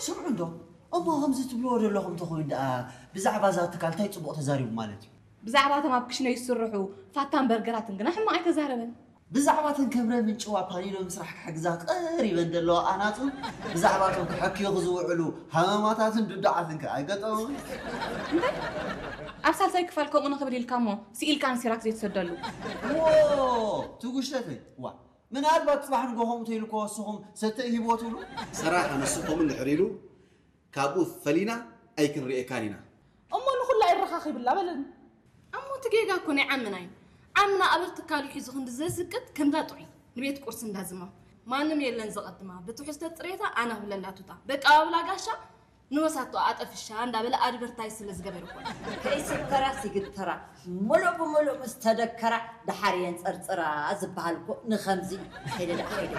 ስምዑ እንዶ፣ እሞ ከምዚ ትብልዎ ዘለኹም ተኾይኑ ደኣ ብዛዕባ እዛ ትካል እንታይ ጽቡቕ ተዛሪቡ ማለት እዩ? ብዛዕባ እቶም ኣብ ክሽነ ዝስርሑ ፋታን በርገራትን ግና ሕማቕ ኣይተዛረበን። ብዛዕባ እተን ከብረ ምንጭዋ ፓኒኖ ምስራሕ ክሕግዛ ቀሪበን ዘለዋ ኣናጹ፣ ብዛዕባ እቶም ክሕክዩ ዝውዕሉ ሃመማታትን ዱዱዓትን ከ ኣይገጠሙን? ኣብ ሳልሳይ ክፋል ከምኡ ንኽብል ኢልካ እሞ ስኢልካ ንሲራክ ዘይትሰደሉ። ዎ፣ ትጉሽተተይ፣ ዋ፣ ምናልባት ጽባሕ ንጎ ከምኡ ተይሉ ከወስኹም ሰተ ሂቦ ትብሉ? ሰራሕ ኣነሱ ከምኡ እንድሕር ኢሉ ካብኡ ፈሊና ኣይክንርእየካን ኢና። እሞ ንኹላ ይረኻኺብላ በለኒ። እሞ እቲ ጌጋ እኮ ናይ ዓምና እዩ። ዓምና ኣበር ትካሉ ሒዙ ክንዲ ዘስቅጥ ከምዛ ጥዑይ ንቤት ቁርሲ እንዳዝማ ማንም የለን ዘቐድማ ብትሕዝቶ ጽሬታ ኣነ ክብለላ ቱታ በቃ ኣብላ ጋሻ ንወሳቶ ኣጠፍሻ እንዳበለ ኣድቨርታይዝ ስለ ዝገበረ እኮ። ከይስከራስ ይግተራ፣ ምሉእ ብምሉእ ምስ ተደከራ ደሓር የንጸርጽራ ዝበሃል እኮ ንኸምዚ እዩ። ከይደ ደኣ ከይደ።